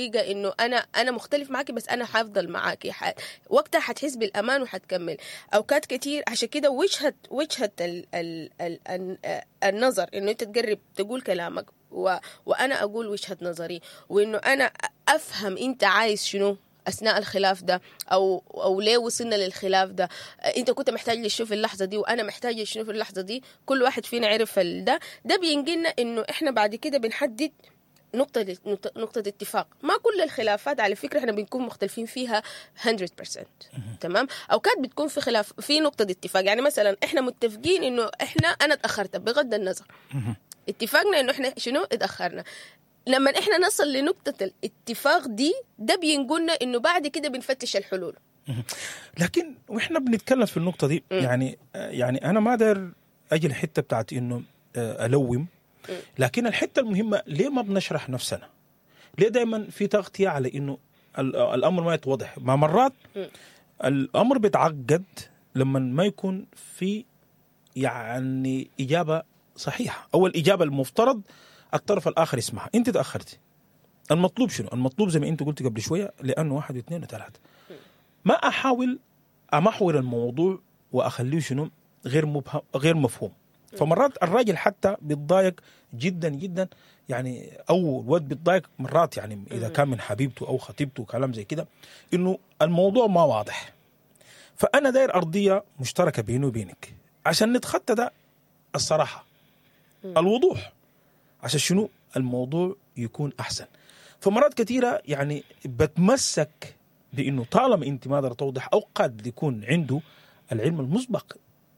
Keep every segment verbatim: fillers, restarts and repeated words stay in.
انه انا انا مختلف معاكي بس انا حافضل معاكي ح... وقتها حتحس بالامان وحتكمل. اوقات كتير عشان كده وجهه وجهه ال... ال... ال... ال... النظر انه انت تقرب تقول كلامك و... وانا اقول وجهه نظري، وانه انا افهم انت عايز شنو اثناء الخلاف ده، او او ليه وصلنا للخلاف ده، انت كنت محتاج لشنو في اللحظة دي وانا محتاجه لشنو في اللحظة دي. كل واحد فينا عرف ده ده بينقلنا انه احنا بعد كده بنحدد نقطة نقطة اتفاق. ما كل الخلافات على فكرة احنا بنكون مختلفين فيها مية بالمية، تمام؟ اوقات بتكون في خلاف في نقطة اتفاق، يعني مثلا احنا متفقين انه احنا انا اتأخرت، بغض النظر اتفاقنا انه احنا شنو اتأخرنا. لما احنا نصل لنقطة الاتفاق دي، ده بينقلنا انه بعد كده بنفتش الحلول. لكن واحنا بنتكلم في النقطة دي، يعني يعني انا ما داير اجي الحتة بتاعت انه آه، الوم، لكن الحتة المهمه، ليه ما بنشرح نفسنا؟ ليه دائما في تغطيه على انه الامر ما يتوضح؟ ما مرات الامر بيتعقد لما ما يكون في يعني اجابه صحيحه او الاجابة المفترض الطرف الاخر يسمعها. انت تاخرتي، المطلوب شنو؟ المطلوب زي ما انت قلت قبل شويه، لانه واحد واثنين وثلاثه. ما احاول امحور الموضوع واخليه شنو؟ غير مبهم، غير مفهوم. فمرات الراجل حتى بيتضايق جدا جدا يعني، او الولد بيتضايق مرات يعني اذا كان من حبيبته او خطيبته وكلام زي كده، انه الموضوع ما واضح. فانا داير ارضية مشتركة بيني وبينك عشان نتخطى ده، الصراحه، الوضوح، عشان شنو؟ الموضوع يكون احسن. فمرات كثيرة يعني بتمسك بانه طالما انت ما قادرة توضح، او قد يكون عنده العلم المسبق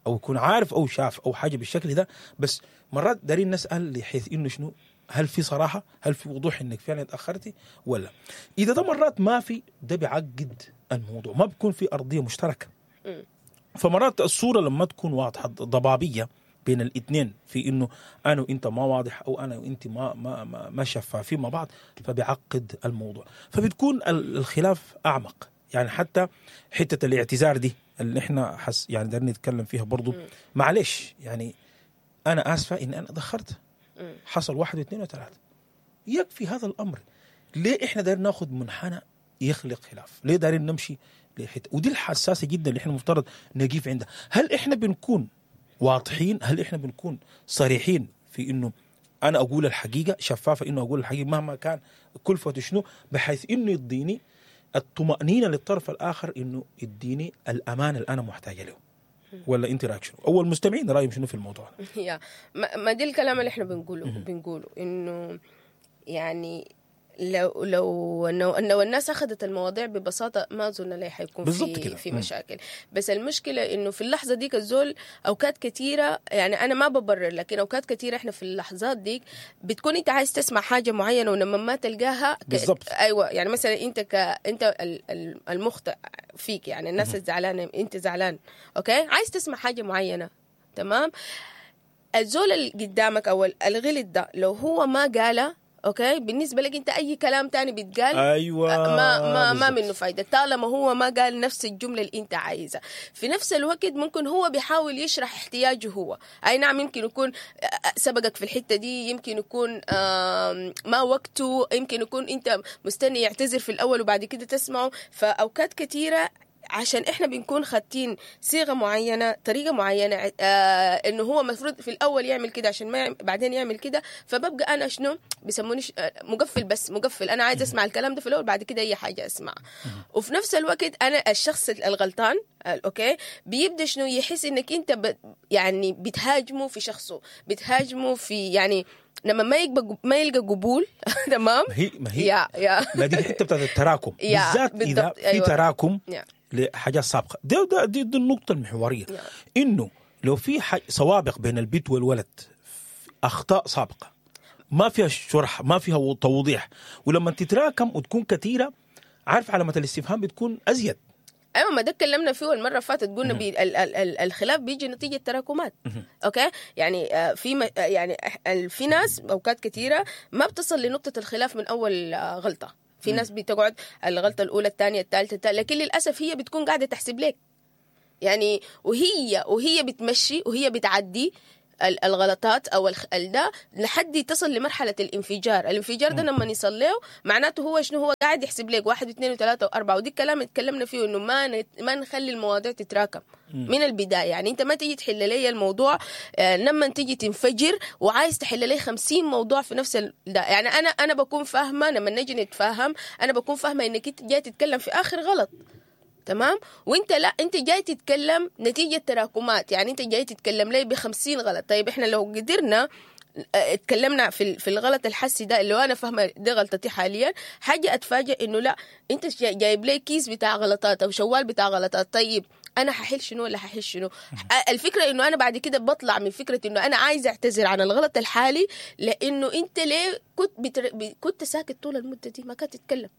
او يكون عارف او شاف او حاجة بالشكل ده، بس مرات دارين نسال لحيث انه شنو؟ هل في صراحه؟ هل في وضوح انك فعلا اتاخرتي ولا؟ اذا ده مرات ما في، ده بيعقد الموضوع، ما بيكون في ارضية مشتركه. فمرات الصورة لما تكون واضحة ضبابية بين الاثنين في انه انا وانت ما واضح، او انا وانت ما ما ما, ما شفافين مع بعض، فبيعقد الموضوع، فبتكون الخلاف اعمق. يعني حتى حتة الاعتذار دي اللي احنا حس يعني دايرين نتكلم فيها برضو، معلش يعني انا اسفه ان انا اتاخرت، حصل واحد واثنين وثلاثه، يكفي هذا الامر. ليه احنا دايرين ناخذ منحنى يخلق خلاف؟ ليه دايرين نمشي لحته؟ ودي الحساسة جدا اللي احنا المفترض نقيف عندها. هل احنا بنكون واضحين؟ هل احنا بنكون صريحين في انه انا اقول الحقيقه، شفافه، انه اقول الحقيقة مهما كان كلفته شنو، بحيث انه يديني الطمانينة للطرف الاخر، انه يديني الامان اللي انا محتاجه له؟ ولا انت رايك شنو؟ او المستمعين رايهم شنو في الموضوع ده؟ يا ما ما دي الكلام اللي احنا بنقوله بنقوله انه يعني لو لو انه لو الناس اخذت المواضيع ببساطة ما اظن ليه حيكون بالضبط في كده. في مم. مشاكل. بس المشكلة انه في اللحظة ديك الزول اوقات كثيره، يعني انا ما ببرر، لكن اوقات كثيرة احنا في اللحظات ديك بتكون انت عايز تسمع حاجة معينه، ولما ما تلقاها ك... بالضبط. ايوه، يعني مثلا انت ك انت ال- ال- المخطئ فيك، يعني الناس الزعلانه، انت زعلان، okay، عايز تسمع حاجة معينه، تمام؟ الزول اللي قدامك او الغلط ده لو هو ما قالها، okay، بالنسبة لك انت اي كلام تاني بيتقال ايوه ما ما ما بالضبط. منه فايده، طالما هو ما قال نفس الجملة اللي انت عايزها. في نفس الوقت ممكن هو بيحاول يشرح احتياجه هو، اي نعم يمكن يكون سبقك في الحتة دي، يمكن يكون آم، ما وقته، يمكن يكون انت مستني يعتذر في الاول وبعد كده تسمعه. فاوقات كثيرة عشان احنا بنكون خاتين صيغة معينه، طريقه معينه، آه انه هو المفروض في الاول يعمل كده عشان ما يعمل بعدين يعمل كده، فببقى انا شنو بيسموني ش- آه، مقفل، بس مقفل، انا عايز اسمع الكلام ده في الاول، بعد كده اي حاجة اسمع. وفي نفس الوقت انا الشخص الغلطان آه، okay، بيبدا شنو؟ يحس انك انت ب يعني بتهاجمه في شخصه، بتهاجمه في يعني لما ما يلقى ما يلقى قبول، تمام؟ ما هي ما هي يا يا ما دي الحتة بتاعت التراكم، يا، بالذات اذا بالضبط، في أيوة. تراكم يا. لحاجات سابقه. ده ده دي, دي النقطة المحوريه، يا. انه لو في حاج سوابق بين البت والولد، اخطاء سابقه ما فيها شرح، ما فيها توضيح، ولما تتراكم وتكون كثيره، عارف علامة الاستفهام بتكون ازيد. ايوه، ما ده اتكلمنا فيه المرة اللي فاتت، قلنا بي ال ال ال الخلاف بيجي نتيجة تراكمات، okay؟ يعني آه، في م- آه، يعني إح- ال- في ناس اوقات كثيرة ما بتصل لنقطة الخلاف من اول آه، غلطه. في ناس بتقعد الغلطة الاولى، الثانيه، الثالثه، الثالثة، لكن للاسف هي بتكون قاعدة تحسب لك، يعني وهي وهي بتمشي وهي بتعدي. الغلطات او ده لحد تصل لمرحلة الانفجار. الانفجار ده لما يصل له معناته هو شنو؟ هو قاعد يحسب لك واحد واثنين وثلاثة واربعة. ودي الكلام اللي تكلمنا فيه انه ما ما نخلي المواضيع تتراكم من البداية. يعني انت ما تيجي تحل لي الموضوع لما تيجي تنفجر وعايز تحل لي خمسين موضوع في نفس ال... ده. يعني انا انا بكون فاهمه لما نجي نتفاهم، انا بكون فاهمه انك انت جاي تتكلم في اخر غلط، تمام؟ وانت لا، انت جاي تتكلم نتيجة تراكمات. يعني انت جاي تتكلم لي بخمسين غلط. طيب احنا لو قدرنا اتكلمنا في في الغلط الحسي ده اللي انا فاهمه دي غلطتي حاليا، حاجة اتفاجئ انه لا، انت جايب لي كيس بتاع غلطات او شوال بتاع غلطات. طيب انا ححل شنو ولا ححل شنو؟ الفكرة انه انا بعد كده بطلع من فكرة انه انا عايزه اعتذر عن الغلط الحالي، لانه انت ليه كنت بتر... كنت ساكت طول المدة دي، ما كنت تتكلم.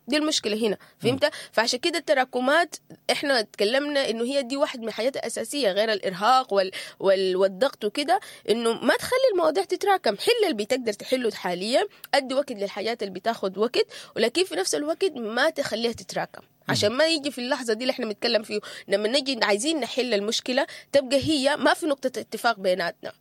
دي المشكلة هنا، فهمت؟ فعشان كده التراكمات احنا تكلمنا انه هي دي واحد من الحاجات الاساسية غير الارهاق وال... وال... والضغط وكده، انه ما تخلي المواضيع تتراكم. حل اللي بتقدر تحله حاليا، ادي وقت للحاجات اللي بتاخد وقت، ولكن في نفس الوقت ما تخليها تتراكم عشان ما يجي في اللحظة دي اللي احنا بنتكلم فيه لما نجي عايزين نحل المشكلة تبقى هي ما في نقطة اتفاق بيناتنا.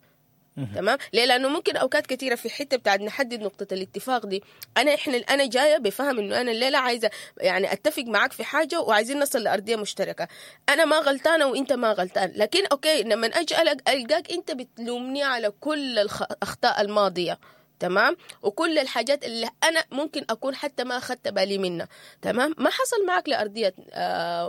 تمام؟ ليه؟ لانه ممكن اوقات كثيرة في حتة بتاعت نحدد نقطة الاتفاق دي، انا احنا انا جاية بفهم انه انا الليلة عايزه يعني اتفق معاك في حاجة وعايزين نصل لارضيه مشتركة، انا ما غلطانة وانت ما غلطان، لكن okay لما اجي القاك انت بتلومني على كل الاخطاء الماضية، تمام؟ وكل الحاجات اللي انا ممكن اكون حتى ما اخذت بالي منها، تمام؟ ما حصل معك لارضيه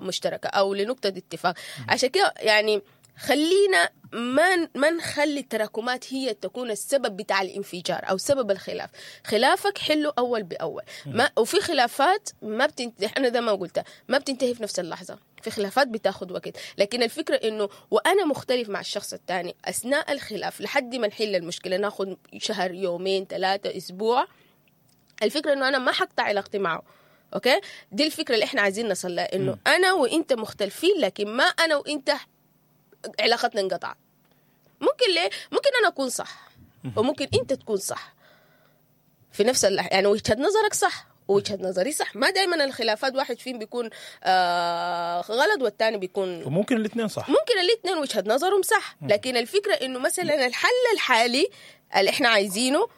مشتركة او لنقطة اتفاق. عشان كده يعني خلينا ما ما نخلي التراكمات هي تكون السبب بتاع الانفجار او سبب الخلاف. خلافك حله اول باول. ما وفي خلافات ما بتنتهي، انا زي ما قلت ما بتنتهي في نفس اللحظة، في خلافات بتاخد وقت، لكن الفكرة انه وانا مختلف مع الشخص الثاني اثناء الخلاف لحد ما نحل المشكلة، ناخد شهر، يومين، ثلاثة، اسبوع، الفكرة انه انا ما حقطع علاقتي معه. okay، دي الفكرة اللي احنا عايزين نصل لها، انه انا وانت مختلفين لكن ما انا وانت علاقتنا انقطعت. ممكن ليه؟ ممكن انا اكون صح وممكن انت تكون صح في نفس اللحظة، يعني وجهه نظرك صح ووجهه نظري صح. ما دائما الخلافات واحد فيهم بيكون آه غلط والثاني بيكون، وممكن الاثنين صح، ممكن الاثنين وجهه نظرهم صح، لكن الفكرة انه مثلا الحل الحالي اللي احنا عايزينه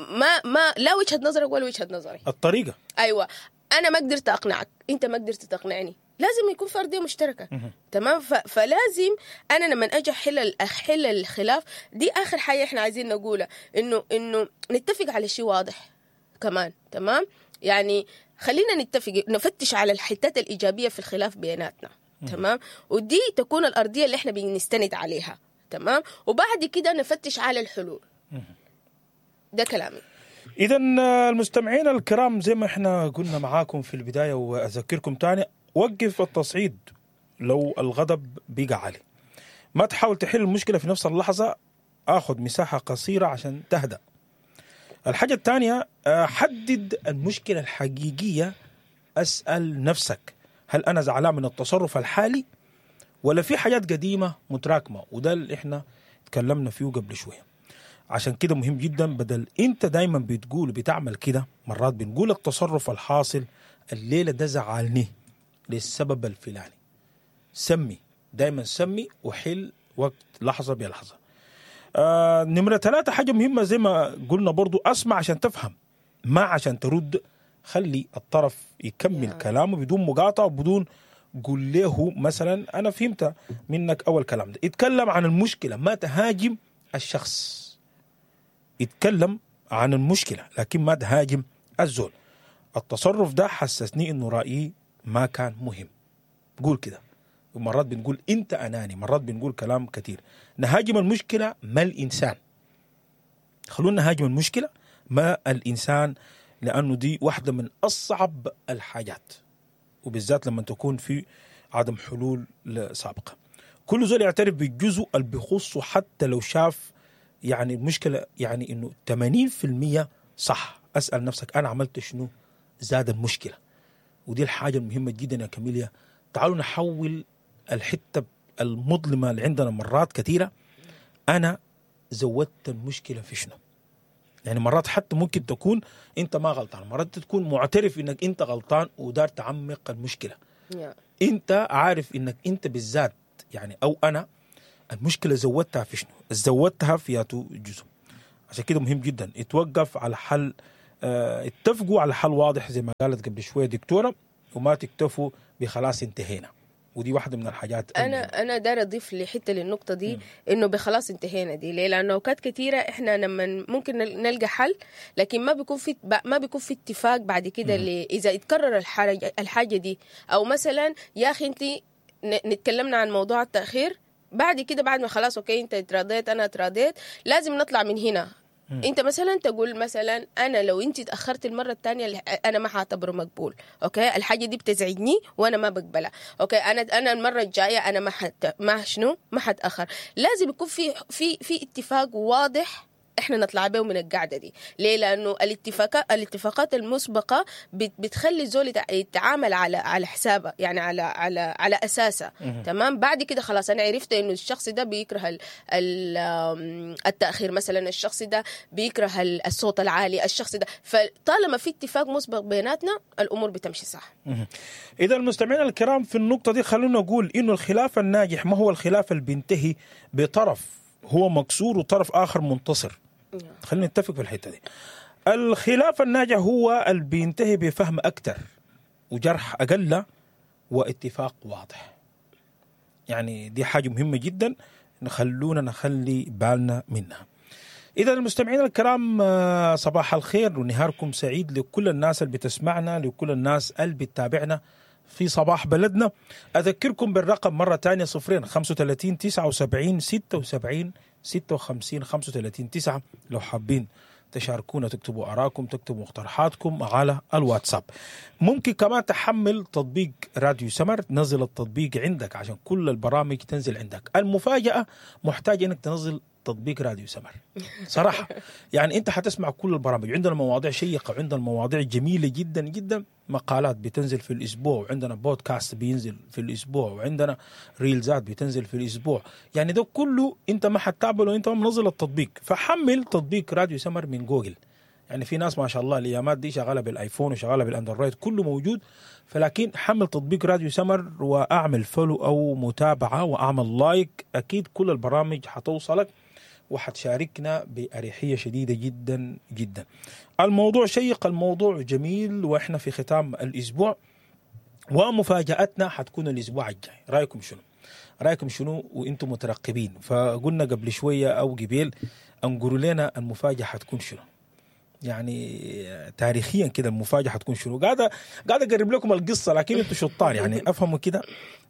ما ما لا وجهه نظرك ولا وجهه نظري، الطريقة. ايوه، انا ما قدرت اقنعك، انت ما قدرت تقنعني، لازم يكون في أرضية مشتركة. تمام؟ فلازم أنا لما أجي أحل أحل الخلاف دي آخر حاجة إحنا عايزين نقولها، إنه إنه نتفق على شيء واضح كمان. تمام؟ يعني خلينا نتفق، نفتش على الحتات الإيجابية في الخلاف بيناتنا. تمام؟ ودي تكون الأرضية اللي إحنا بنستند عليها. تمام؟ وبعد كده نفتش على الحلول. ده كلامي. إذا المستمعين الكرام، زي ما إحنا قلنا معاكم في البداية وأذكركم تاني، وقف التصعيد لو الغضب بيقع عالي. ما تحاول تحل المشكلة في نفس اللحظة، آخذ مساحة قصيرة عشان تهدأ. الحاجة الثانية، حدد المشكلة الحقيقية. أسأل نفسك، هل أنا زعلان من التصرف الحالي ولا في حاجات قديمة متراكمة؟ وده اللي إحنا تكلمنا فيه قبل شوية. عشان كده مهم جدا، بدل أنت دايما بتقول بتعمل كده، مرات بنقول التصرف الحاصل الليلة ده زعلني للسبب الفلاني. سمي دايما، سمي وحل وقت لحظة بلحظة. آه نمرة ثلاثة، حاجة مهمة زي ما قلنا برضو، أسمع عشان تفهم ما عشان ترد. خلي الطرف يكمل yeah. كلامه بدون مقاطعة وبدون قول له مثلا أنا فهمت منك أول كلام ده. اتكلم عن المشكلة، ما تهاجم الشخص. اتكلم عن المشكلة لكن ما تهاجم الزول. التصرف ده حسسني إنه رأيي ما كان مهم. قول كده. ومرات بنقول انت اناني، مرات بنقول كلام كثير. نهاجم المشكلة ما الانسان. خلونا نهاجم المشكلة ما الانسان، لانه دي واحدة من اصعب الحاجات، وبالذات لما تكون في عدم حلول سابقه. كل زول يعترف بالجزء اللي بيخصه، حتى لو شاف يعني المشكلة يعني انه ثمانين بالمية صح. اسال نفسك انا عملت شنو زاد المشكلة. ودي الحاجة المهمة جدا يا كاميليا. تعالوا نحول الحتة المظلمة اللي عندنا مرات كثيرة، أنا زودت المشكلة في شنو؟ يعني مرات حتى ممكن تكون أنت ما غلطان، مرات تكون معترف إنك أنت غلطان ودار تعمق المشكلة. yeah. أنت عارف إنك أنت بالذات يعني، أو أنا المشكلة زودتها في شنو؟ زودتها في ياتو جزء. عشان كده مهم جدا اتوقف على حل، اه اتفقوا على حل واضح زي ما قالت قبل شوية دكتورة، وما تكتفوا بخلاص انتهينا. ودي واحدة من الحاجات. انا انا داير اضيف لحته للنقطة دي، انه بخلاص انتهينا دي ليه؟ لانه اوقات كثيرة احنا لما ممكن نلقى حل، لكن ما بيكون في ما بيكون في اتفاق بعد كده اذا اتكرر الحاجة الحاجة دي. او مثلا يا اخي انت نتكلمنا عن موضوع التاخير، بعد كده بعد ما خلاص okay انت اتراضيت انا اتراضيت، لازم نطلع من هنا. مم. انت مثلا تقول مثلا انا لو انت اتاخرت المرة الثانية انا ما حاعتبره مقبول، okay الحاجة دي بتزعجني وانا ما بقبلها، okay انا انا المرة الجاية انا ما حت ما شنو ما حتاخر. لازم يكون في في في اتفاق واضح احنا نطلع به من القعدة دي. ليه؟ لانه الاتفاقات الاتفاقات المسبقة بتخلي الزول يتعامل على على حسابه، يعني على على على اساسه. تمام. بعد كده خلاص انا عرفت انه الشخص ده بيكره ال ال التاخير مثلا، الشخص ده بيكره الصوت العالي، الشخص ده، فطالما في اتفاق مسبق بيناتنا الامور بتمشي صح. اذا المستمعين الكرام في النقطة دي خلونا نقول انه الخلاف الناجح ما هو الخلاف اللي بينتهي بطرف هو مكسور وطرف اخر منتصر. خلينا نتفق في الحتة دي. الخلاف الناجح هو اللي بينتهي بفهم اكثر وجرح اقل واتفاق واضح. يعني دي حاجة مهمة جدا نخلونا نخلي بالنا منها. اذا المستمعين الكرام صباح الخير ونهاركم سعيد لكل الناس اللي بتسمعنا، لكل الناس اللي بتتابعنا في صباح بلدنا. أذكركم بالرقم مرة تانية صفرين خمسة وثلاثين تسعة وسبعين ستة وسبعين ستة وخمسين خمسة وثلاثين تسعة لو حابين تشاركونا، تكتبوا آراءكم، تكتبوا مقترحاتكم على الواتساب. ممكن كمان تحمل تطبيق راديو سمر، تنزل التطبيق عندك عشان كل البرامج تنزل عندك. المفاجأة محتاج انك تنزل تطبيق راديو سمر صراحة، يعني انت حتسمع كل البرامج. عندنا مواضيع شيقة، عندنا مواضيع جميلة جدا جدا، مقالات بتنزل في الأسبوع، وعندنا بودكاست بينزل في الأسبوع، وعندنا ريلزات بتنزل في الأسبوع. يعني ده كله انت ما حتعمله وانت ما منزل التطبيق. فحمل تطبيق راديو سمر من جوجل. يعني في ناس ما شاء الله الايامات دي شغالة بالايفون وشغالة بالاندرويد، كله موجود. فلكن حمل تطبيق راديو سمر واعمل follow او متابعه واعمل like، اكيد كل البرامج حتوصلك وحتشاركنا بأريحية شديدة جدا جدا. الموضوع شيق، الموضوع جميل، وإحنا في ختام الأسبوع ومفاجأتنا حتكون الأسبوع الجاي. رأيكم شنو؟ رأيكم شنو وإنتم مترقبين؟ فقلنا قبل شوية أو قبيل أنقروا لنا المفاجأة حتكون شنو، يعني تاريخيا كده المفاجأة حتكون شنو. قاعدة قاعدة أقرب لكم القصة، لكن أنتم شطار يعني أفهموا كده،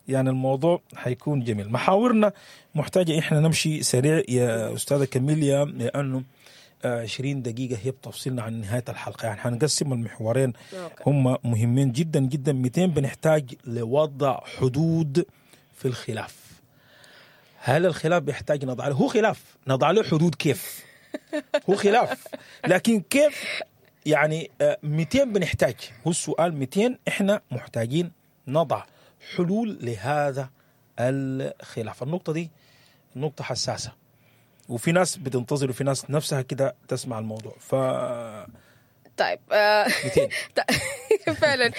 يعني الموضوع حيكون جميل. محاورنا محتاجة إحنا نمشي سريع يا أستاذة كاميليا، لأنه عشرين دقيقة هي بتفصلنا عن نهاية الحلقة. يعني حنقسم المحورين، هم مهمين جدا جدا. مئتين بنحتاج لوضع حدود في الخلاف. هل الخلاف بيحتاج نضع له؟ هو خلاف نضع له حدود كيف؟ هو خلاف لكن كيف؟ يعني مئتين بنحتاج، هو السؤال مئتين إحنا محتاجين نضع حلول لهذا الخلاف. النقطة دي نقطة حساسة، وفي ناس بتنتظر وفي ناس نفسها كده تسمع الموضوع. ف طيب آه فعلا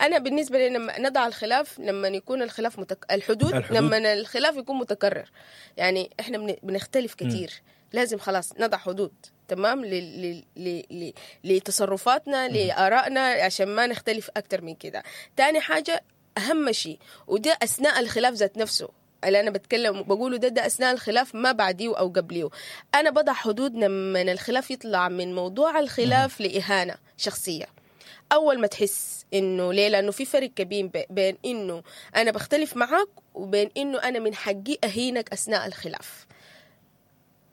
انا بالنسبة لي لما نضع الخلاف، لما يكون الخلاف متك... الحدود, الحدود لما الخلاف يكون متكرر، يعني احنا بنختلف كتير م. لازم خلاص نضع حدود، تمام، ل... ل... ل... ل... لتصرفاتنا، لآرائنا، عشان ما نختلف أكتر من كده. تاني حاجة، أهم شيء، وده أثناء الخلاف ذات نفسه اللي أنا بتكلم بقوله ده، ده أثناء الخلاف ما بعديه أو قبليه. أنا بضع حدود لما الخلاف يطلع من موضوع الخلاف لإهانة شخصية. أول ما تحس إنه ليه؟ لأنه في فرق كبير بين إنه أنا بختلف معك وبين إنه أنا من حقي أهينك أثناء الخلاف.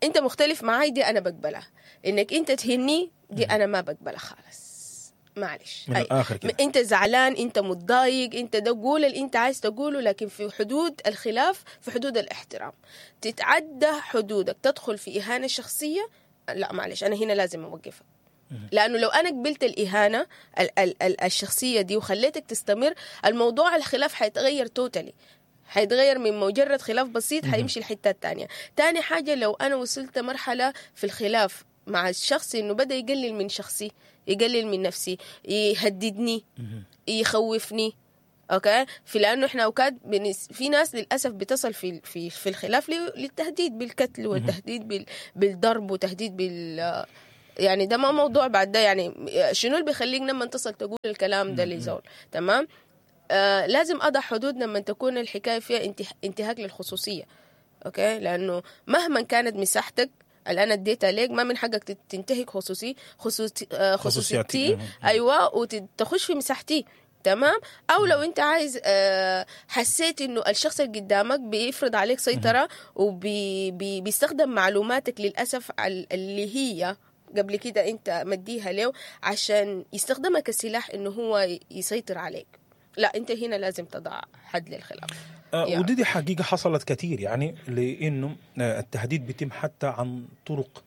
أنت مختلف معاي دي أنا بقبلها، إنك أنت تهني دي أنا ما بقبلها خالص، معلش. من الآخر كده. أنت زعلان، أنت متضايق، أنت ده قول اللي أنت عايز تقوله، لكن في حدود الخلاف، في حدود الاحترام. تتعدى حدودك، تدخل في إهانة شخصية، لا معلش أنا هنا لازم أوقفك. لأنه لو أنا قبلت الإهانة ال- ال- ال- الشخصية دي وخليتك تستمر، الموضوع الخلاف حيتغير توتالي، حيتغير من مجرد خلاف بسيط حيمشي الحتة التانية. تاني حاجة، لو أنا وصلت مرحلة في الخلاف مع الشخص إنه بدأ يقلل من شخصي، يقلل من نفسي، يهددني، يخوفني، okay، في لانه احنا اوقات بنس في ناس للاسف بتصل في في في الخلاف للتهديد بالقتل والتهديد بال بالضرب وتهديد بال يعني ده ما موضوع بعد ده. يعني شنو اللي بيخليك لما تصل تقول الكلام ده لزول؟ تمام. آه لازم اضع حدود لما تكون الحكاية فيها انتهاك للخصوصيه. okay، لانه مهما كانت مساحتك اللي انا اديتها لك ما من حقك تنتهك خصوصي خصوصي خصوصيتي، ايوه، وتخش في مساحتي. تمام. او لو انت عايز حسيت انه الشخص اللي قدامك بيفرض عليك سيطرة وبيستخدم معلوماتك للاسف اللي هي قبل كده انت مديها له عشان يستخدمها كسلاح انه هو يسيطر عليك، لا انت هنا لازم تضع حد للخلاف. آه ودي دي حقيقة حصلت كثير، يعني لانه التهديد بيتم حتى عن طرق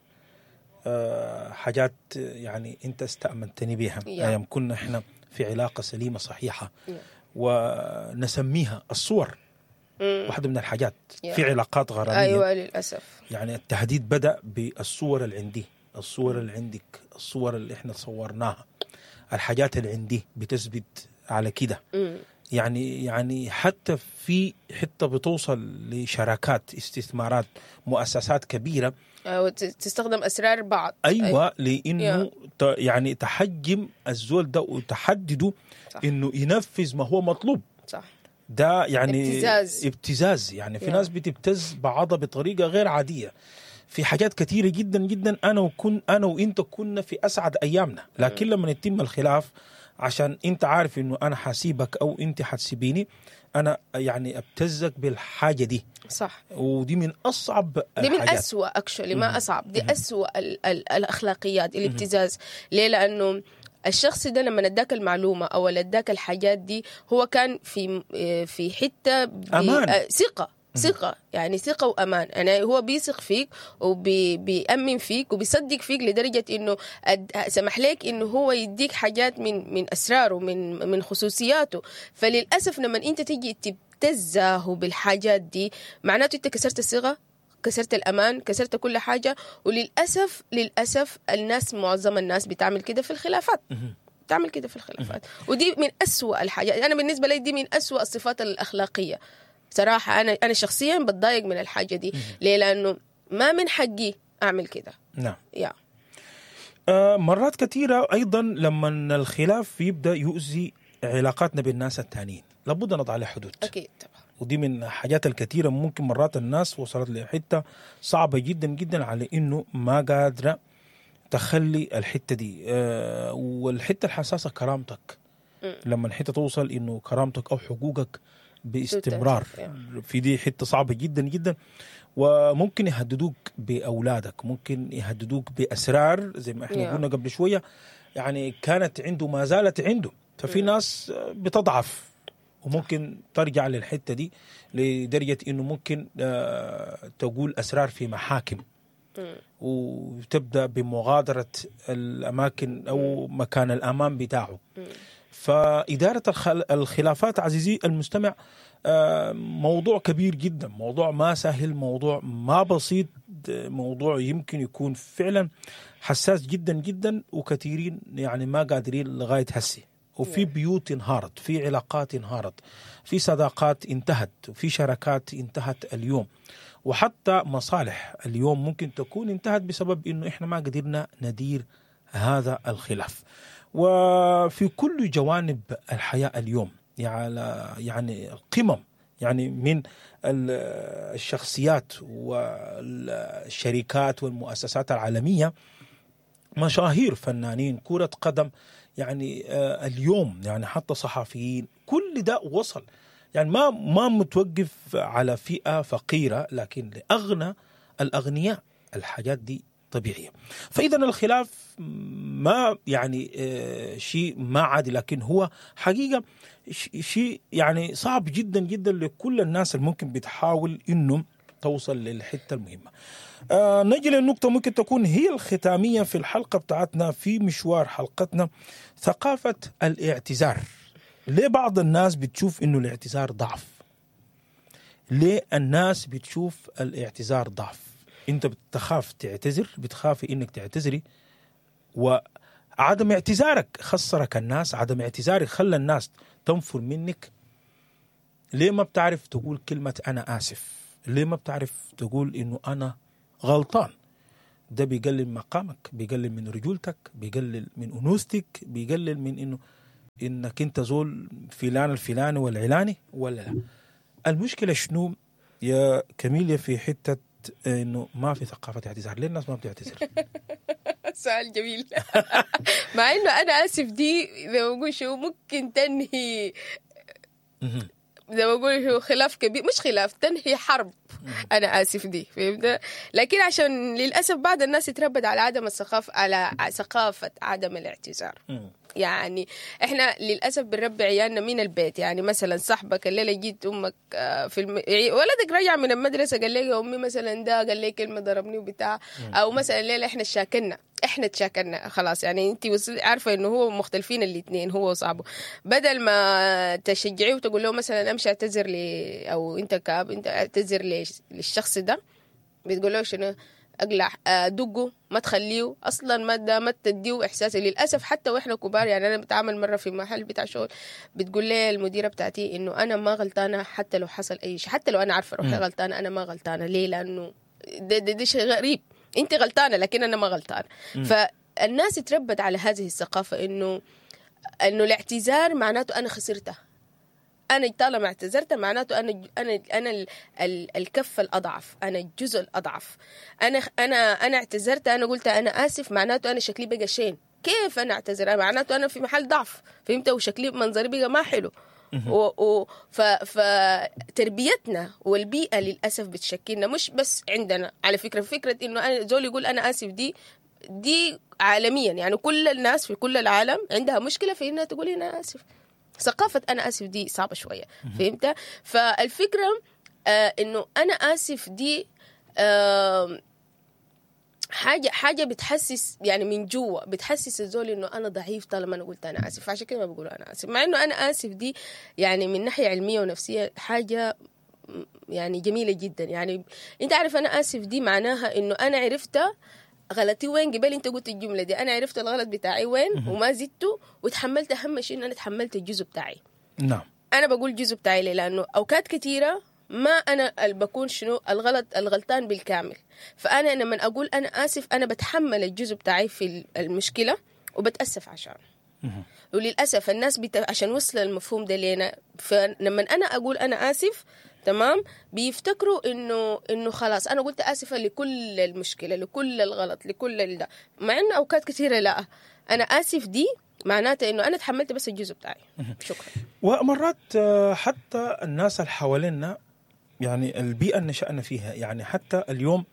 آه حاجات يعني انت استأمنتني بها ايام كنا احنا في علاقة سليمة صحيحة yeah. ونسميها الصور. mm. واحدة من الحاجات yeah. في علاقات غرامية. أيوة للأسف. يعني التهديد بدأ بالصور اللي عندي، الصور اللي عندك، الصور اللي احنا صورناها، الحاجات اللي عندي بتثبت على كده. يعني يعني حتى في حتى بتوصل لشراكات، استثمارات، مؤسسات كبيرة أو تستخدم أسرار بعض. أيوة, أيوة. لأنه ت يعني تحجم الزول ده وتحدده إنه ينفذ ما هو مطلوب. صح. ده يعني ابتزاز. ابتزاز يعني في yeah. ناس بتبتز بعضها بطريقة غير عادية في حاجات كثيرة جدا جدا. أنا وكن أنا وإنت كنا في أسعد أيامنا، لكن لما يتم الخلاف عشان انت عارف انه انا حاسيبك او انت حتسيبيني، انا يعني ابتزك بالحاجة دي. صح. ودي من اصعب دي من اسوأ actually، ما اصعب دي اسوأ ال ال الاخلاقيات الابتزاز. ليه؟ لانه الشخص ده لما اداك المعلومة او اداك الحاجات دي هو كان في في حتة امان، ثقة ثقة، يعني ثقة وأمان. يعني هو بيثق فيك وبيأمن فيك وبيصدق فيك لدرجة إنه سمح لك إنه هو يديك حاجات من من أسراره، من من خصوصياته. فللأسف لما أنت تيجي تبتزه بالحاجات دي معناته أنت كسرت الثقة، كسرت الأمان، كسرت كل حاجة. وللأسف للأسف الناس، معظم الناس بتعمل كده في الخلافات، بتعمل كده في الخلافات، ودي من أسوأ الحاجات. أنا بالنسبة لي دي من أسوأ الصفات الأخلاقية صراحة. أنا أنا شخصياً بتضايق من الحاجة دي. ليه؟ لأنه ما من حقي أعمل كده. نعم. يا. آه مرات كثيرة أيضاً لما الخلاف يبدأ يؤذي علاقاتنا بالناس التانيين لابد نضع عليه حدود. أكيد طبعاً. ودي من الحاجات الكثيرة ممكن مرات الناس وصلت لحتة صعبة جدا جدا على إنه ما قادرة تخلي الحتة دي. آه والحتة الحساسة كرامتك. م. لما الحتة توصل إنه كرامتك أو حقوقك باستمرار في دي حتة صعبة جدا جدا. وممكن يهددوك بأولادك، ممكن يهددوك بأسرار زي ما احنا قلنا قبل شوية، يعني كانت عنده ما زالت عنده. ففي ناس بتضعف وممكن ترجع للحتة دي لدرجة انه ممكن تقول أسرار في محاكم وتبدأ بمغادرة الأماكن أو مكان الأمان بتاعه. فإدارة الخلافات عزيزي المستمع موضوع كبير جدا، موضوع ما سهل، موضوع ما بسيط، موضوع يمكن يكون فعلا حساس جدا جدا، وكثيرين يعني ما قادرين لغاية هسي. وفي بيوت انهارت، في علاقات انهارت، في صداقات انتهت، وفي شراكات انتهت اليوم، وحتى مصالح اليوم ممكن تكون انتهت بسبب انه احنا ما قدرنا ندير هذا الخلاف. وفي كل جوانب الحياة اليوم، يعني يعني القمم، يعني من الشخصيات والشركات والمؤسسات العالمية، مشاهير، فنانين، كرة قدم، يعني اليوم يعني حتى صحفيين، كل ده وصل. يعني ما ما متوقف على فئة فقيرة، لكن لأغنى الأغنياء الحاجات دي طبيعية. فإذا الخلاف ما يعني شيء ما عادي، لكن هو حقيقة شيء يعني صعب جدا جدا لكل الناس اللي ممكن بتحاول إنه توصل للحتة المهمة. آه نجي للنقطة ممكن تكون هي الختامية في الحلقة بتاعتنا، في مشوار حلقتنا، ثقافة الاعتذار. ليه بعض الناس بتشوف إنه الاعتذار ضعف؟ ليه الناس بتشوف الاعتذار ضعف؟ انت بتخاف تعتذر، بتخافي انك تعتذري، وعدم اعتذارك خسرك الناس، عدم اعتذارك خلى الناس تنفر منك. ليه ما بتعرف تقول كلمة انا اسف؟ ليه ما بتعرف تقول انه انا غلطان؟ ده بيقلل مقامك، بيقلل من رجولتك، بيقلل من انوثتك، بيقلل من انه انك انت زول فلان الفلاني والعلاني ولا لا. المشكلة شنو يا كميليا في حتة انه ما في ثقافة اعتذار؟ ليه الناس ما بتعتذر؟ سؤال جميل. مع انه انا اسف دي زي ما بقول شو ممكن تنهي، زي ما بقول شو خلاف كبير، مش خلاف، تنهي حرب. انا اسف دي، فهمت؟ لكن عشان للاسف بعض الناس اتربت على عدم الثقافة، على ثقافة عدم الاعتذار. يعني احنا للاسف بنربي عيالنا من البيت. يعني مثلا صاحبك الليلة جيت امك في الم... ولدك رجع من المدرسة قال لي يا امي مثلا ده قال لي كلمة ضربني وبتاع، او مثلا الليلة احنا شاكلنا، احنا تشاكلنا خلاص، يعني انت عارفه انه هو مختلفين الاثنين هو وصاحبه، بدل ما تشجعيه وتقول له مثلا امشي اعتذر لي، او انت كاب انت اعتذر للشخص ده، بتقول له شنو؟ اقلع، دقه، ما تخليه اصلا، ما ده ما تديه احساس. للاسف حتى واحنا كبار، يعني انا بتعامل مرة في محل بتاع شغل، بتقول لي المديرة بتاعتي انه انا ما غلطانة حتى لو حصل اي شيء، حتى لو انا عارفه روحي غلطانة انا ما غلطانة. ليه؟ لانه ده, ده, ده شيء غريب، انت غلطانة لكن انا ما غلطانة. فالناس تربت على هذه الثقافة انه انه الاعتذار معناته انا خسرتها، انا طالما اعتذرت معناته انا انا انا ال ال الكفة الاضعف، انا الجزء الاضعف، انا انا انا اعتذرت، انا قلت انا اسف، معناته انا شكلي بقى شين. كيف انا اعتذر؟ معناته انا في محل ضعف، فهمت؟ وشكلي منظري بقى ما حلو. و و ف فتربيتنا والبيئة للاسف بتشكلنا، مش بس عندنا على فكرة. فكرة انه انا زول يقول انا اسف دي دي عالميا، يعني كل الناس في كل العالم عندها مشكلة في انها تقول انا اسف. ثقافة أنا آسف دي صعبة شوية، فهمت؟ فالفكرة آه إنه أنا آسف دي آه حاجة حاجة بتحسس، يعني من جوا بتحسس الزول إنه أنا ضعيف طالما أنا قلت أنا آسف. عشان كده ما بقولوا أنا آسف، مع إنه أنا آسف دي يعني من ناحية علمية ونفسية حاجة يعني جميلة جدا. يعني أنت عارف أنا آسف دي معناها إنه أنا عرفت غلطي وين، قبل انت قلت الجملة دي، انا عرفت الغلط بتاعي وين وما زدته وتحملت. اهم شيء ان انا تحملت الجزء بتاعي. نعم، انا بقول جزء بتاعي ليه؟ لانه اوقات كثيرة ما انا اللي بكون شنو الغلط، الغلطان بالكامل. فانا لما اقول انا اسف انا بتحمل الجزء بتاعي في المشكلة وبتاسف عشان. وللاسف الناس بت... عشان وصل المفهوم ده لينا، فلما انا اقول انا اسف تمام بيفتكروا انه انه خلاص انا قلت اسفه لكل المشكلة، لكل الغلط، لكل ده، مع انه اوقات كثيرة لا، انا اسف دي معناتها انه انا تحملت بس الجزء بتاعي. شكرا. ومرات حتى الناس اللي حوالينا، يعني البيئة اللي نشأنا فيها، يعني حتى اليوم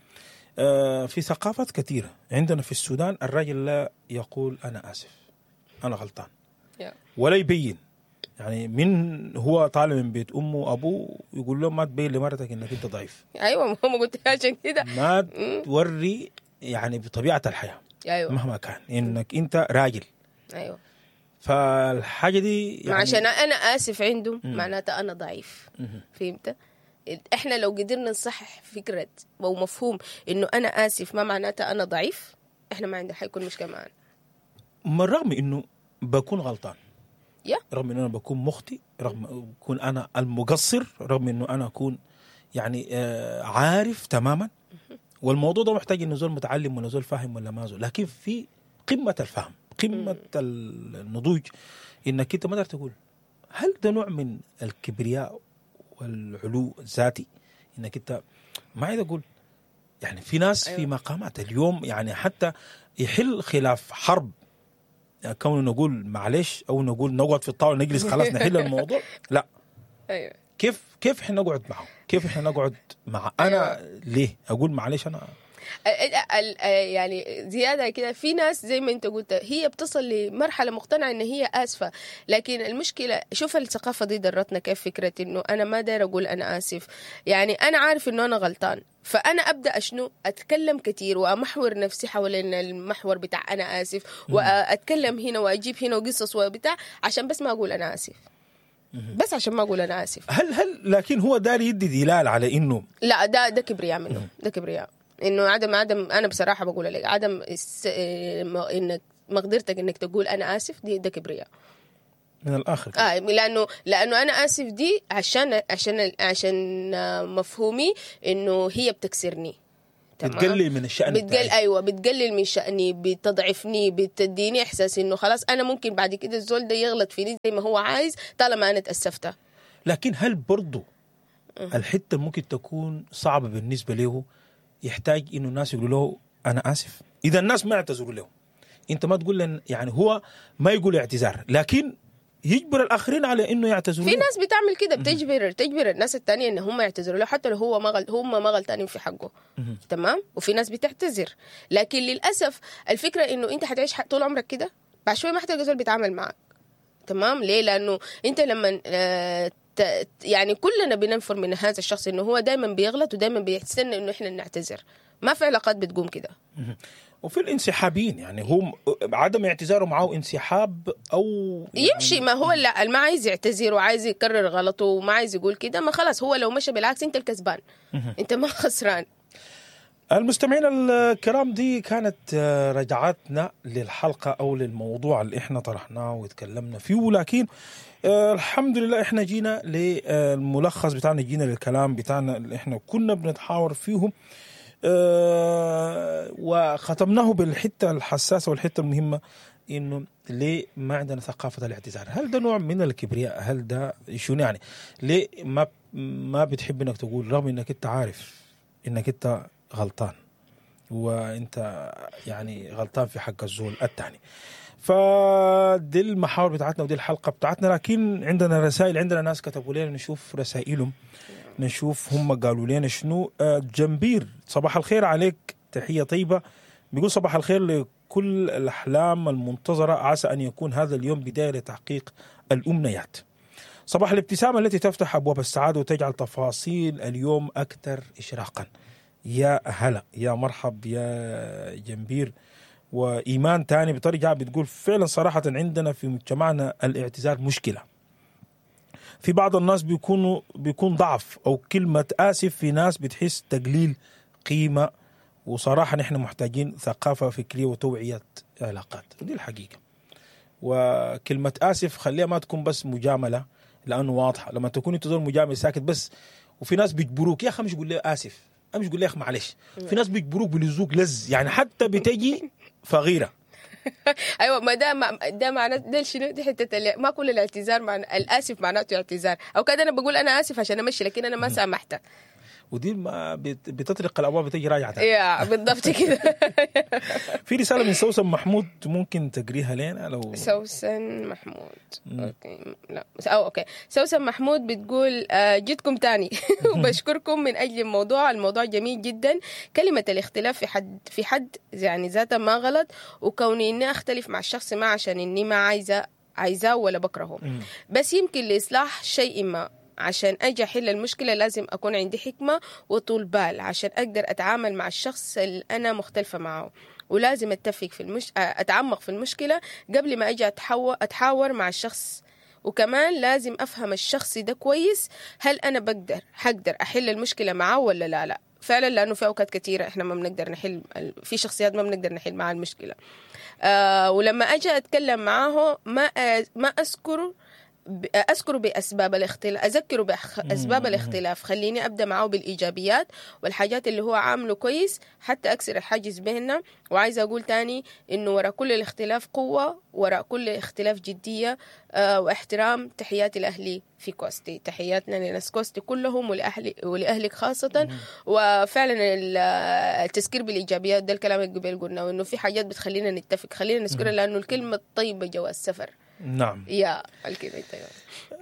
في ثقافات كثيرة عندنا في السودان الرجل لا يقول انا اسف، انا غلطان، ولا يبين. يعني من هو طالع من بيت امه وابوه يقول له ما تبين لمرتك انك انت ضعيف. ايوه، ما قلت عشان كده ما توري، يعني بطبيعة الحياة، ايوه، مهما كان انك انت راجل. ايوه، فالحاجه دي يعني عشان انا اسف عنده معناته انا ضعيف. فهمت؟ احنا لو قدرنا نصحح فكرة او مفهوم انه انا اسف ما معناته انا ضعيف، احنا ما عندنا حيكون مشكلة معنا. من رغم انه بكون غلطان، yeah. رغم انه انا بكون مخطئ، رغم اكون انا المقصر، رغم انه انا اكون يعني آه عارف تماما، والموضوع ده محتاج انه زول متعلم ولا زول فاهم ولا ما زول، لكن في قمة الفهم، قمة النضوج، انك انت ما تقدر تقول. هل ده نوع من الكبرياء والعلو الذاتي انك انت ما عايز اقول؟ يعني في ناس، أيوة، في مقامات اليوم يعني حتى يحل خلاف حرب، يعني كونه نقول معلش او نقول نقعد في الطاولة نجلس خلاص نحل الموضوع، لا. ايوه، كيف كيف احنا نقعد معه؟ كيف احنا نقعد مع انا؟ أيوة. ليه اقول معلش انا؟ ال ال يعني زيادة كده في ناس زي ما انت قلت هي بتصل لمرحلة مقتنعة ان هي اسفه، لكن المشكلة شوف الثقافة دي درتنا كيف فكرة انه انا ما داير اقول انا اسف، يعني انا عارف انه انا غلطان، فانا ابدا اشنو اتكلم كثير وامحور نفسي حوالين المحور بتاع انا اسف، واتكلم هنا واجيب هنا وقصص وبتاع عشان بس ما اقول انا اسف، بس عشان ما اقول انا اسف. هل هل لكن هو داري يدي دلال على انه لا، ده ده كبرياء منه، ده كبرياء انه عدم عدم انا بصراحة بقول لك عدم الس... انك مقدرتك انك تقول انا اسف دي ده كبرياء. من الاخر كده. آه لانه لانه انا اسف دي عشان عشان عشان آه، مفهومي انه هي بتكسرني. تمام؟ بتقلل من الشأن بتقل بتاعي. ايوه، بتقلل من شأني، بتضعفني، بتديني احساس انه خلاص انا ممكن بعد كده الزول ده يغلط فيني زي ما هو عايز طالما انا تأسفت. لكن هل برضو الحتة ممكن تكون صعبة بالنسبة له، يحتاج انه الناس يقولوا له انا اسف؟ اذا الناس ما اعتذروا له، انت ما تقول لن يعني هو ما يقول اعتذار، لكن يجبر الاخرين على انه يعتذروا في له. ناس بتعمل كده، بتجبر تجبر الناس التانية ان هم يعتذروا له حتى لو هو ما غل... هم ما غلطانين في حقه. تمام. وفي ناس بتعتذر، لكن للاسف الفكرة انه انت حتعيش ح- طول عمرك كده، بعد شوية ما حتلقى زول بيتعامل معك. تمام. ليه؟ لانه انت لما آه، ت- يعني كلنا بننفر من هذا الشخص انه هو دائما بيغلط ودائما بيستنى انه احنا نعتذر. ما في علاقات بتقوم كده. وفي الانسحابين، يعني هم عدم اعتذاره معه انسحاب او يعني يمشي، ما هو لا ما عايز يعتذر وعايز يكرر غلطه وما عايز يقول كده، ما خلاص هو لو مشى بالعكس انت الكسبان، انت ما خسران. المستمعين الكرام، دي كانت آه، رجعتنا للحلقة أو للموضوع اللي إحنا طرحناه وتكلمنا فيه، ولكن آه، الحمد لله إحنا جينا للملخص بتاعنا، جينا للكلام بتاعنا اللي إحنا كنا بنتحاور فيه، آه، وختمناه بالحتة الحساسة والحتة المهمة، إنه ليه ما عندنا ثقافة الاعتذار؟ هل ده نوع من الكبرياء؟ هل ده شنو يعني؟ ليه ما ما بتحب إنك تقول رغم إنك أنت عارف إنك أنت غلطان، وانت يعني غلطان في حق الزول الثاني؟ فدي المحاور بتاعتنا ودي الحلقة بتاعتنا. لكن عندنا رسائل، عندنا ناس كتبوا لنا، نشوف رسائلهم، نشوف هم قالوا لنا شنو. آه، جنبير صباح الخير عليك، تحية طيبة. بيقول صباح الخير لكل الاحلام المنتظره، عسى ان يكون هذا اليوم بداية لتحقيق الامنيات. صباح الابتسامة التي تفتح ابواب السعادة وتجعل تفاصيل اليوم اكثر اشراقا. يا هلا يا مرحب يا جنبير. وإيمان تاني بترجع بتقول فعلا صراحة عندنا في مجتمعنا الاعتذار مشكلة. في بعض الناس بيكونوا بيكون ضعف أو كلمة آسف، في ناس بتحس تقليل قيمة، وصراحة نحن محتاجين ثقافة فكرية وتوعية علاقات، دي الحقيقة. وكلمة آسف خليها ما تكون بس مجاملة، لأنه واضحة لما تكون أنت زول مجامل ساكت بس، وفي ناس بيجبروك يا أخي مش قول لي آسف، أمش قول لي يا أخي معلش. في ناس بيجبروك بلزوك لز، يعني حتى بتجي فغيرة. ايوه، ما ده ما ده معناه ده شنو؟ دي حتة اللي- ما كل الاعتذار معنى الاسف معناته اعتذار، او كده انا بقول انا اسف عشان امشي، لكن انا ما سامحتك. ودي ما بت- بتطرق الابواب بتجي راجعه تاني. يا بالضبط كده. في رسالة من سوسن محمود ممكن تقريها لنا لو سوسن محمود. okay لا او okay سوسن محمود بتقول آه، جيتكم تاني وبشكركم من اجل الموضوع، الموضوع جميل جدا. كلمة الاختلاف في حد في حد يعني ذاتها ما غلط، وكوني اني اختلف مع الشخص ما عشان اني ما عايزه عايزاه ولا بكرهه، بس يمكن لاصلاح شيء ما. عشان اجي احل المشكلة لازم اكون عندي حكمه وطول بال عشان اقدر اتعامل مع الشخص اللي انا مختلفة معه، ولازم اتفق في المش... اتعمق في المشكلة قبل ما اجي أتحو... اتحاور مع الشخص، وكمان لازم افهم الشخص ده كويس، هل انا بقدر حقدر احل المشكلة معاه ولا لا. لا فعلا، لانه في اوقات كثيرة احنا ما بنقدر نحل، في شخصيات ما بنقدر نحل معها المشكلة. آه ولما اجي اتكلم معاه ما أ... ما اذكر ب- اذكر باسباب الاختلاف، اذكره باسباب الاختلاف، خليني ابدا معاه بالايجابيات والحاجات اللي هو عامله كويس حتى اكسر الحاجز بيننا. وعايزه اقول تاني انه وراء كل الاختلاف قوة، وراء كل اختلاف جدية آه واحترام. تحياتي لاهلي في كوستي، تحياتنا لناس كوستي كلهم ولاهلي ولاهلك خاصة. وفعلا ال- التذكير بالايجابيات ده الكلام اللي قبل قلنا، وانه في حاجات بتخلينا نتفق خلينا نذكرها، لانه الكلمة الطيبة جواز سفر. نعم يا الكلمة الطيبة.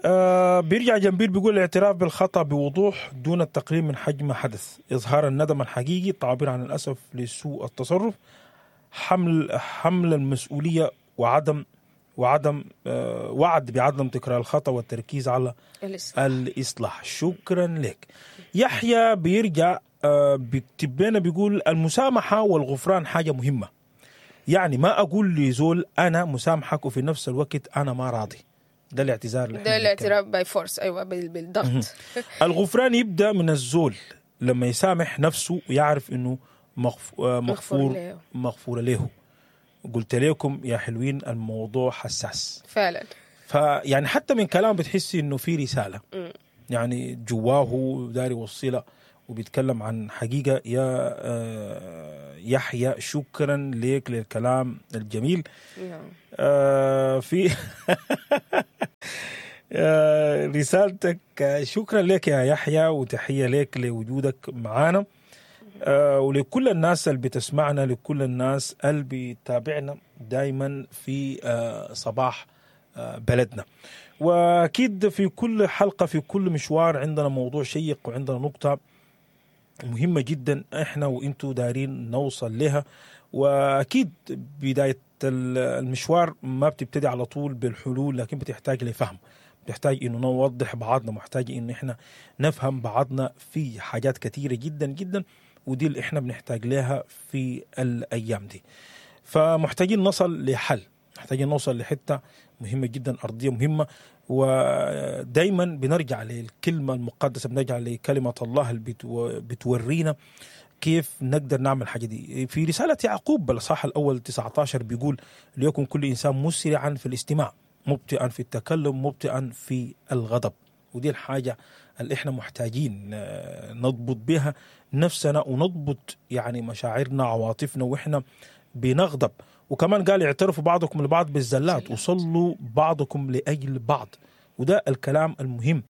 آه بيرجع جنبير بيقول الاعتراف بالخطأ بوضوح دون التقليل من حجم حدث، إظهار الندم الحقيقي، التعبير عن الأسف لسوء التصرف، حمل حمل المسؤولية وعدم وعدم آه وعد بعدم تكرار الخطأ والتركيز على الإصلاح. الإصلاح. شكرا لك يحيى. بيرجع آه بيكتب لنا بيقول المسامحة والغفران حاجة مهمة، يعني ما أقول لزول أنا مسامحك وفي نفس الوقت أنا ما راضي. ده الاعتذار اللي ده إحنا بنتكلم. الاعتراف by force، ايوه بال- بالضغط. الغفران يبدأ من الزول لما يسامح نفسه ويعرف إنه مغف... آه، مغفور له. مغفور له. قلت لكم يا حلوين الموضوع حساس. فعلا. فيعني حتى من كلام بتحسي انه في رسالة يعني جواه داري يوصلها وبيتكلم عن حقيقة. يا آه، يحيى شكرا لك للكلام الجميل. نعم. آه، في آه، رسالتك، آه، شكرا لك يا يحيى وتحية لك لوجودك معانا، آه، ولكل الناس اللي بتسمعنا، لكل الناس اللي بتتابعنا دايما في آه، صباح آه، بلدنا. واكيد في كل حلقة في كل مشوار عندنا موضوع شيق وعندنا نقطة مهمة جدا احنا وانتو دارين نوصل لها. واكيد بداية المشوار ما بتبتدي على طول بالحلول، لكن بتحتاج لفهم، بتحتاج انه نوضح بعضنا، محتاج انه احنا نفهم بعضنا في حاجات كثيرة جدا جدا، ودي اللي احنا بنحتاج لها في الايام دي. فمحتاجين نصل لحل، محتاجين نوصل لحته مهمة جدا، ارضية مهمة. ودايما بنرجع للكلمة المقدسة، بنرجع لكلمة الله اللي بتو- بتورينا كيف نقدر نعمل الحاجة دي. في رسالة يعقوب بالاصحاح الاول تسعة عشر بيقول: ليكن كل انسان مسرعا في الاستماع، مبطئا في التكلم، مبطئا في الغضب. ودي الحاجة اللي احنا محتاجين آه، نضبط بها نفسنا ونضبط يعني مشاعرنا، عواطفنا، واحنا بنغضب. وكمان قال: اعترفوا بعضكم لبعض بالزلات وصلوا بعضكم لاجل بعض. وده الكلام المهم.